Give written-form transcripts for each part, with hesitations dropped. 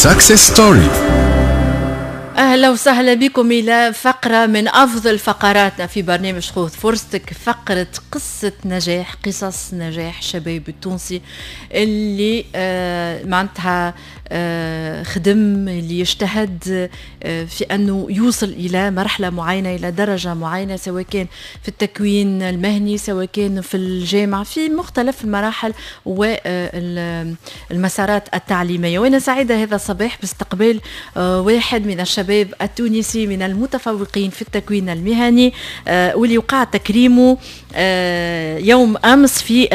success story. اهلا وسهلا بكم الى فقره من افضل فقراتنا في برنامج خذ فرصتك، فقره قصة نجاح، قصص نجاح شباب التونسي اللي معناتها خدم، اللي يجتهد في انه يوصل الى مرحلة معينه، الى درجه معينه، سواء كان في التكوين المهني، سواء كان في الجامعه، في مختلف المراحل والمسارات التعليميه. وانا سعيدة هذا الصباح باستقبال واحد من الشباب التونسي من المتفوقين في التكوين المهني، واللي وقع تكريمه يوم امس في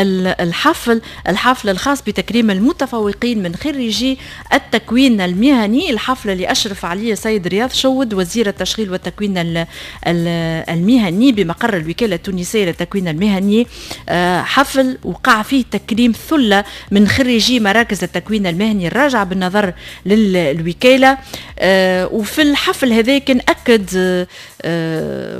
الحفل الخاص بتكريم المتفوقين من خريجي التكوين المهني، الحفل اللي اشرف عليه السيد رياض شود وزير التشغيل والتكوين المهني بمقر الوكالة التونسية للتكوين المهني. حفل وقع فيه تكريم ثلة من خريجي مراكز التكوين المهني الراجعة بالنظر للوكاله. وفي الحفل هذا كان اكد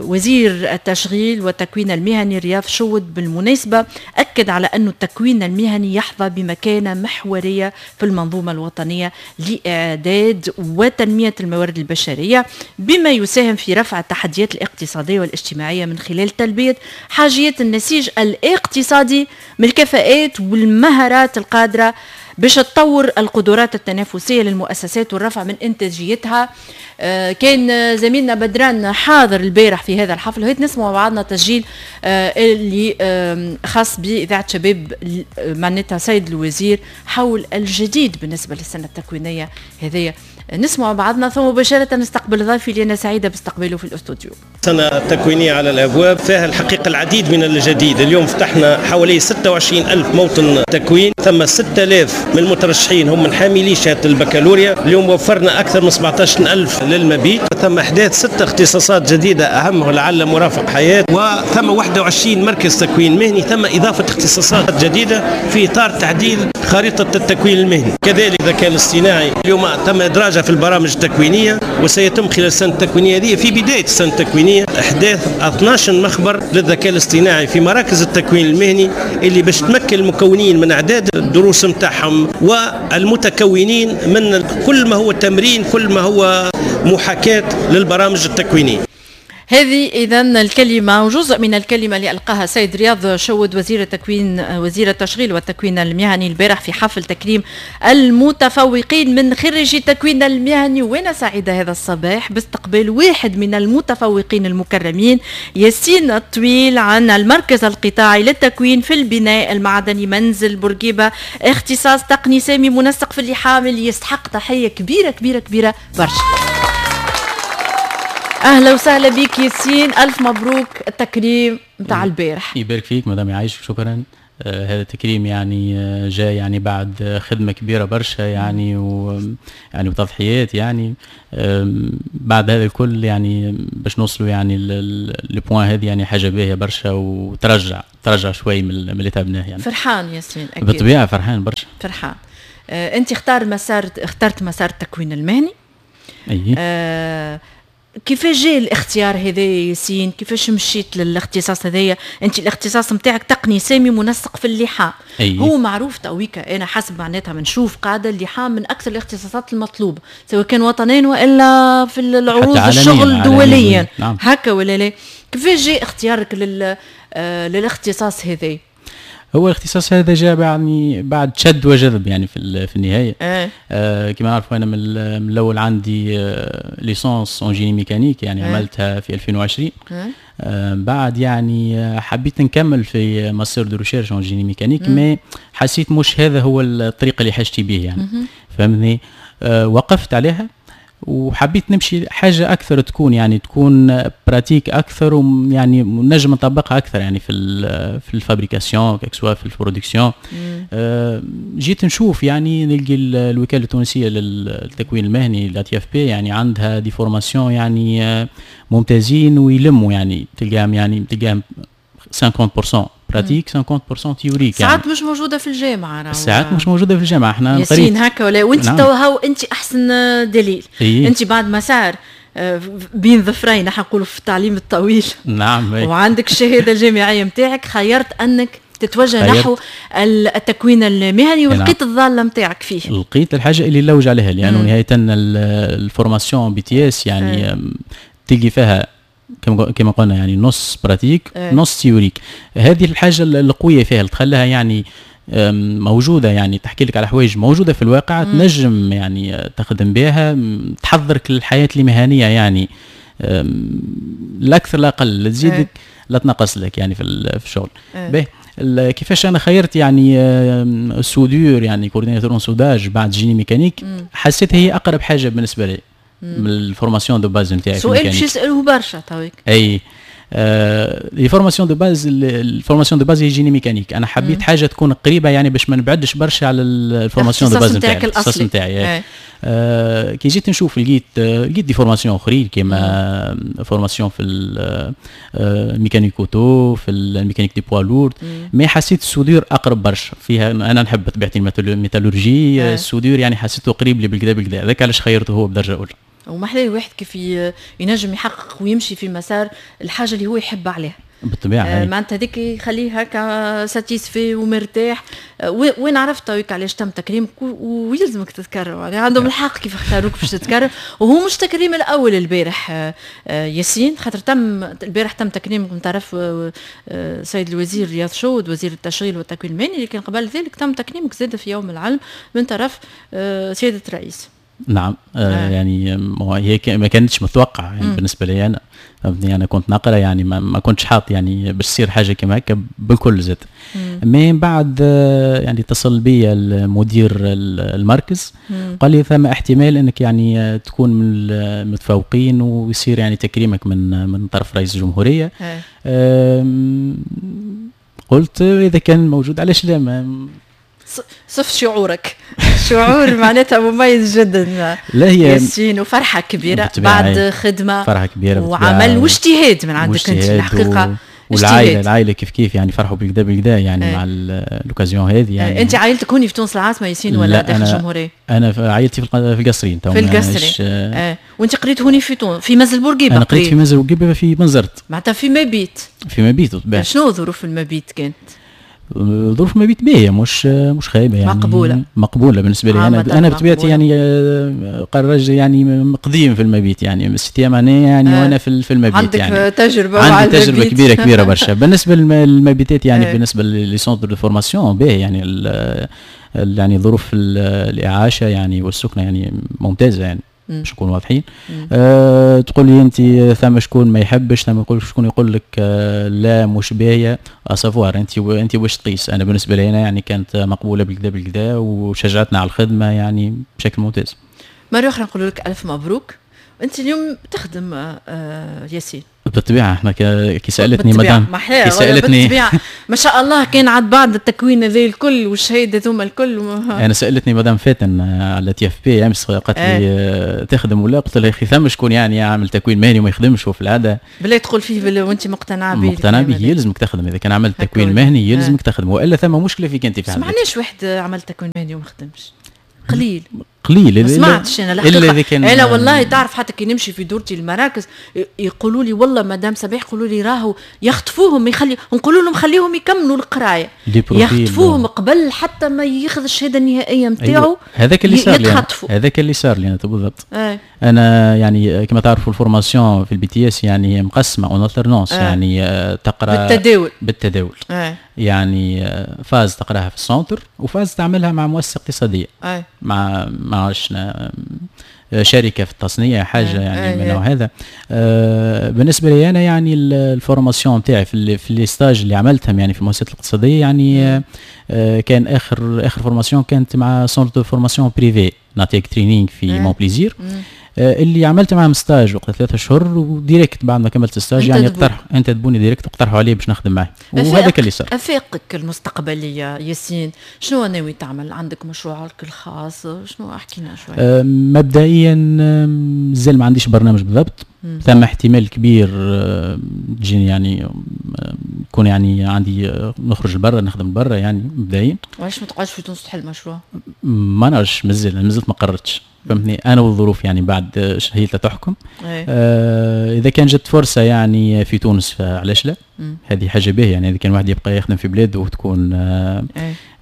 وزير التشغيل والتكوين المهني رياض شود بالمناسبة، اكد على أن التكوين المهني يحظى بمكانه محورية في المنظومة الوطنية لاعداد وتنميه الموارد البشرية، بما يساهم في رفع التحديات الاقتصادية والاجتماعية من خلال تلبية حاجيات النسيج الاقتصادي من الكفاءات والمهارات القادره باش تطور القدرات التنافسية للمؤسسات والرفع من انتاجيتها. كان زميلنا بدران حاضر البارح في هذا الحفل، وهيت نسمع بعضنا تسجيل اللي خاص باذاعة شباب معناتها سيد الوزير حول الجديد بالنسبة للسنة التكوينيه هذه. نسمع بعضنا ثم مباشرة نستقبل ضيفي اللي انا سعيدة باستقباله في الاستوديو. سنة تكوينية على الأبواب فيها الحقيقة العديد من الجديد. اليوم فتحنا حوالي 26 ألف موطن تكوين، ثم 6000 من المترشحين هم من حاملي شهادة البكالوريا. اليوم وفرنا أكثر من 17 ألف للمبيت، ثم إحداث 6 اختصاصات جديدة أهمها لعل مرافق حياة، وثم 21 مركز تكوين مهني، ثم إضافة اختصاصات جديدة في إطار تعديل خريطة التكوين المهني. كذلك الذكاء الاصطناعي اليوم تم إدراجه في البرامج التكوينية، وسيتم خلال السنة التكوينية هذه في بداية السنة التكوينية إحداث 12 مخبر للذكاء الاصطناعي في مراكز التكوين المهني اللي باش تمكن المكونين من أعداد الدروس نتاعهم والمتكونين من كل ما هو تمرين، كل ما هو محاكاة للبرامج التكوينية. هذه إذا الكلمة وجزء من الكلمة اللي ألقاها سيد رياض شود وزير التكوين وزير التشغيل والتكوين المهني البارح في حفل تكريم المتفوقين من خريجي التكوين المهني. وأنا سعيدة هذا الصباح باستقبال واحد من المتفوقين المكرمين، ياسين الطويل، عن المركز القطاعي للتكوين في البناء المعدني منزل بورقيبة، اختصاص تقني سامي منسق في اللحام، اللي يستحق تحية كبيرة كبيرة كبيرة برشا. اهلا وسهلا بك ياسين، الف مبروك التكريم نتاع البارح. يبارك فيك مدام يعيشك، شكرا. هذا التكريم يعني جاء يعني بعد خدمة كبيرة برشا يعني ويعني وتضحيات يعني، بعد هذا الكل يعني باش نوصلوا يعني le point هذه يعني حاجة باهيه برشا، وترجع شوي من اللي تعبناه يعني. فرحان ياسين؟ اكيد بالطبيعة فرحان برشا. فرحان. انت اخترت مسار التكوين المهني. اي. كيفاش جاء الاختيار هذا ياسين؟ كيفاش مشيت للاختصاص هذايا؟ انت الاختصاص نتاعك تقني سامي منسق في اللحام. أي. هو معروف تويكا، انا حسب معناتها بنشوف قاعدة اللحام من اكثر الاختصاصات المطلوبة، سواء كان وطنيا والا في العروض الشغل دوليا. نعم. هكا ولا لا؟ كيفاش جاء اختيارك للاختصاص هذا؟ هو الاختصاص هذا جاء يعني بعد شد وجذب يعني في النهاية. كما نعرفوا انا من الاول عندي licence en génie mécanique يعني عملتها في 2020. بعد يعني حبيت نكمل في master de recherche en génie mécanique، mais حسيت مش هذا هو الطريق اللي حاجتي به يعني، فهمتني؟ وقفت عليها وحبيت نمشي حاجة اكثر تكون يعني تكون pratique اكثر، ويعني نجم نطبقها اكثر يعني في ال fabrication que ce soit في ال production. جيت نشوف يعني نلقي الوكالة التونسية للتكوين المهني l'ATFP يعني عندها des formations يعني ممتازين ويلموا يعني تلقاهم 50% pratique 50% théorique. ساعات يعني مش موجودة في الجامعه. ساعات مش موجودة في الجامعه. احنا ياسين هكا ولا؟ وانت نعم. تو هاو انت احسن دليل. إيه؟ انت بعد مسار بين ظفرين نحن نقولوا في التعليم الطويل. نعم. وعندك الشهادة الجامعية نتاعك، خيرت انك تتوجه نحو التكوين المهني ولقيت الضالة نتاعك فيه. لقيت الحاجة اللي نلوج عليها، لانه نهاية ال formation BTS يعني تلقي فيها كما قلنا يعني نص pratique نص théorique. هذه الحاجة القوية فيها اللي تخليها يعني موجودة، يعني تحكي لك على حوايج موجودة في الواقع تنجم يعني تخدم بها، تحضرك للحياة المهنية يعني لا اكثر لا اقل، لا تزيدك لا تنقص لك يعني في الشغل. باهي كيفاش انا خيرت يعني soudure يعني coordinateur en soudage بعد génie mécanique؟ حسيت هي اقرب حاجة بالنسبة لي من ال formation de base نتاعي. سؤال باش يسالوه برشا تويك. اي les formations de base، ال formation de base هي génie mécanique. انا حبيت حاجة تكون قريبه يعني باش ما نبعدش برشا على ال formation de base نتاعي، الاختصاص نتاعي. كي جيت نشوف لقيت des formations اخرين كيما formation في ال mécanique auto، في ال mécanique des poids lourds، mais حسيت ال soudure اقرب برشا فيها. انا نحب بطبيعتي ال métallurgie، ال soudure يعني حسيته قريب لي بالكدا بالكدا، هذاك علاش خيرته هو بدرجة اولى. ومحلاه واحد كيف ينجم يحقق ويمشي في مسار الحاجة اللي هو يحب عليها. بالطبيعة معناتها هذيك يخليه هكا satisfait ومرتاح. وين عرفت تويك علاش تم تكريمك ويلزمك تتكرم، يعني عندهم الحق كيف اختاروك باش تتكرم. وهو مش تكريم الاول البارح ياسين، خاطر تم البارح تم تكريمك من طرف سيد الوزير رياض شود وزير التشغيل والتكوين المهني، لكن قبل ذلك تم تكريمك زاد في يوم العلم من طرف سيادة الرئيس. نعم. يعني هي ما كانتش متوقعه يعني بالنسبة لي انا، فهمتني، انا كنت نقرا يعني ما كنتش حاط يعني باش تصير حاجة كما هكا بالكل زاد. mais بعد يعني اتصل بي المدير المركز قال لي ثم احتمال انك يعني تكون من المتفوقين ويصير يعني تكريمك من طرف رئيس الجمهورية. قلت اذا كان موجود علاش لا. ما صف شعورك، شعور معناتها مميز جدا لا هي ياسين، وفرحه كبيرة بعد خدمة، فرحه كبيرة وعمل واجتهاد من عندك انت الحقيقة. والعائلة العائلة كيف كيف يعني فرحوا بالكدا بالكدا يعني مع l'occasion هذه يعني. انت عائلتك هوني في تونس العاصمة ياسين ولا داخل الجمهورية؟ انا في عائلتي في القصرين. في القصرين. وانت قريت هوني في تونس في منزل بورقيبة؟ انا قريت في منزل بورقيبة في بنزرت. معناتها في مبيت. في مبيت بالطبيعة. شنو ظروف المبيت كانت؟ ظروف المبيت باهيه، مش خايبة يعني، مقبولة مقبولة بالنسبة لي. انا بطبيعتي يعني قرج يعني قديم في المبيت يعني من septième année يعني وانا في المبيت. عندك يعني تجربه؟ عندي تجربه كبيرة كبيرة برشا بالنسبة للمبيتات يعني. بالنسبة les centres de formation باهي يعني يعني ظروف الاعاشه يعني والسكنه يعني ممتازة يعني باش نكونوا واضحين. تقول لي انت ثم شكون ما يحبش، ثم شكون يقول لك لا مش باهيه، à savoir انت واش تقيس. انا بالنسبة لي انا يعني كانت مقبولة بالكدا بالكدا وشجعتنا على الخدمة يعني بشكل ممتاز. مرة اخرى نقول لك الف مبروك. انت اليوم تخدم ياسين؟ بالطبيعة احنا كي سالتني مدام، كي سالتني ما شاء الله كان عاد بعد التكوين هذا الكل والشهادة ذوما الكل انا سالتني مدام فاتن على TFP امس، قالت لي تخدم ولا؟ قلت لها يا اخي ثم شكون يعني يعمل تكوين مهني وما يخدمش في العادة. بالله تقول فيه وانت مقتنعة به؟ مقتنعة به، يلزمك تخدم. اذا كان عملت تكوين مهني يلزمك تخدم، والا ثم مشكلة فيك انت في حالك. ما معناش واحد عمل تكوين مهني وما خدمش، قليل قليل. ما سمعتش انا الحقيقة. انا والله تعرف حتى كي نمشي في دورتي المراكز يقولوا لي والله مدام سبيح يقولوا لي راهو يخطفوهم، يخلي نقولوا لهم خليهم يكملوا القراية، يخطفوهم قبل حتى ما ياخذ الشهادة النهائية نتاعو. أيوة. هذاك اللي صار لي، هذاك اللي صار لي انا بالضبط. انا يعني كما تعرفوا ال formation في ال BTS يعني مقسمة en alternance، يعني تقرا بالتداول. بالتداول. يعني phase تقراها في ال centre و phase تعملها مع مؤسسة اقتصادية، مع شركة في التصنيع، حاجة يعني من النوع هذا. بالنسبة لي انا يعني ال formation تاعي في les stages اللي عملتهم يعني في المؤسسات الاقتصادية يعني كان اخر formation كانت مع centre de formation privé نعطيك training في مونبليزير، اللي عملت معهم stage وقت 3 اشهر، و direct بعد ما كملت stage يعني اقترح انتدبوني direct اقترحوا علي باش نخدم معاه، وهذاك اللي صار. افاقك المستقبلية ياسين شنو ناوي تعمل؟ عندك مشروعك الخاص؟ شنو احكي لنا شوية؟ مبدئيا مازال ما عنديش برنامج بالضبط. ثم احتمال كبير تجيني يعني يكون يعني عندي نخرج لبرا نخدم برا يعني مبدئيا. وعلاش ما تقعدش في تونس تحل مشروع؟ ما نعرفش، مازلت ما قررتش. فهمتني، انا والظروف يعني بعد هي تحكم. اذا كان جت فرصة يعني في تونس فعلاش لا؟ هذه حاجة باهيه يعني، اذا كان واحد يبقى يخدم في بلاده وتكون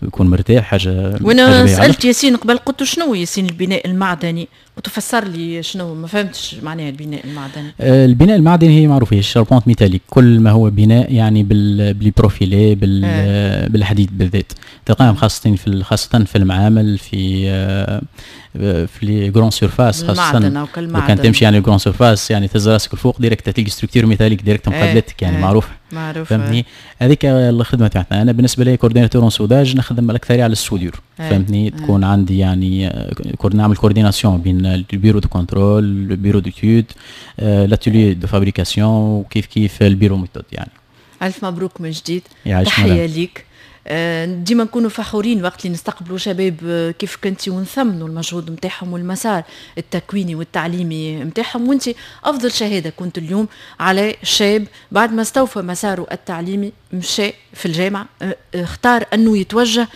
يكون مرتاح، حاجة. وانا سالت ياسين قبل، قلت شنو ياسين البناء المعدني؟ قلت فسر لي شنو، ما فهمتش معناها البناء المعدني. البناء المعدني هي معروفه، هي ال charpente métallique، كل ما هو بناء يعني بال profilé بالحديد بالذات، تلقاهم خاصة في المعامل، في les grandes surfaces خاصه. لو كان تمشي يعني grandes surfaces، يعني تهز راسك الفوق direct تلقى structure métallique direct مقابلتك، يعني معروف. معروف. فهمتني، هذيك الخدمة تاعتنا. انا بالنسبة لي coordinateur en soudage نخدم الاكثرية على ال soudure، فهمتني، تكون عندي يعني نعمل coordination بين ال bureau de contrôle، ال bureau d'études، l'atelier de fabrication، وكيف كيف ال bureau méthode يعني. الف مبروك من جديد، تحية ليك. ديما نكونوا فخورين وقت اللي نستقبلوا شباب كيف كنتي ونثمنوا المجهود نتاعهم والمسار التكويني والتعليمي نتاعهم، وانت افضل شهادة كنت اليوم على شاب بعد ما استوفى مساره التعليمي، مشى في الجامعه، اختار انه يتوجه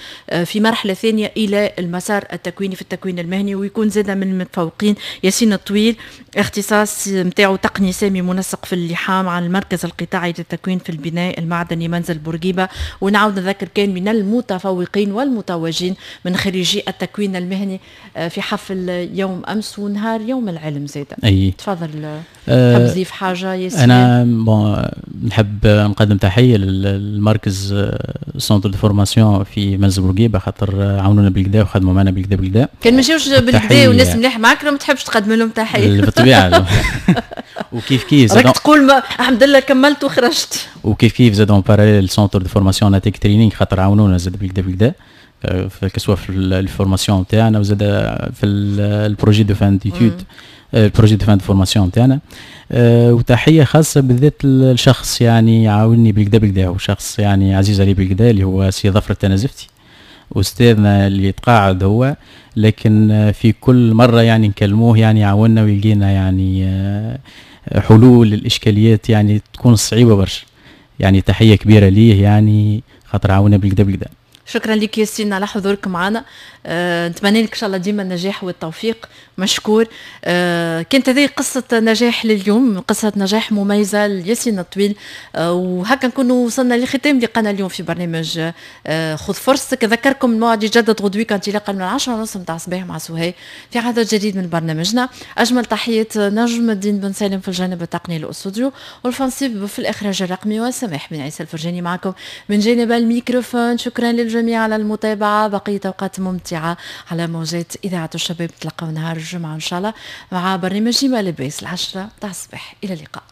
في مرحلة ثانية الى المسار التكويني في التكوين المهني ويكون زاد من المتفوقين. ياسين الطويل، اختصاص نتاعو تقني سامي منسق في اللحام على المركز القطاعي للتكوين في البناء المعدني منزل بورقيبه، ونعاود نذكر كان من المتفوقين والمتوجين من خريجي التكوين المهني في حفل يوم امس ونهار يوم العلم زاد. اي. تفضل، تحب تضيف حاجة ياسين؟ انا bon نحب نقدم تحية للمركز centre de formation في منزل بورقيبه، خاطر عاونونا بالقدا وخدموا معنا بالقدا بالقدا. كان ما جاوش بالقدا والناس مليح معاك ما تحبش تقدم لهم تحيه؟ بالطبيعه، وكيف كيف راك تقول ما الحمد لله كملت وخرجت. وكيف كيف زاد en parallèle centre de formation Natec Training، خاطر عاونونا زاد بالقدا بالقدا، que ce soit في ال formation تاعنا وزاد في ال projet de fin d'études، ال projet de fin de formation تاعنا. وتحية خاصة بالذات الشخص يعني عاوني بالقدا بالقدا، وشخص يعني عزيز علي بالقدا، اللي هو سي ظفر التنازفتي، استاذنا اللي تقاعد هو، لكن في كل مرة يعني نكلموه يعني يعاوننا ويلقينا يعني حلول للاشكاليات يعني تكون صعيبة برشا. يعني تحية كبيرة ليه، يعني خاطر عاونا بالقدا بالقدا. شكرا لك ياسين على حضورك معنا. نتمنى لك ان شاء الله ديما النجاح والتوفيق، مشكور. كانت هذه قصة نجاح لليوم، قصة نجاح مميزة لياسين الطويل. وهكا نكونوا وصلنا لختام لقانا اليوم في برنامج خذ فرصتك. اذكركم الموعد يجدد غدوة انطلاقا من 10:30 نتاع الصباح مع سهي في عدد جديد من برنامجنا. اجمل تحية نجم الدين بن سالم في الجانب التقني للاستوديو والفنصيب في الاخراج الرقمي، وسماح بن عيسى الفرجاني معكم من جانب الميكروفون. شكرا للجميع على المتابعة، بقية أوقات ممتعة على موجات إذاعة الشباب. تلقوا نهار الجمعة إن شاء الله مع برنامج ما لباس 10 تاع الصباح. إلى اللقاء.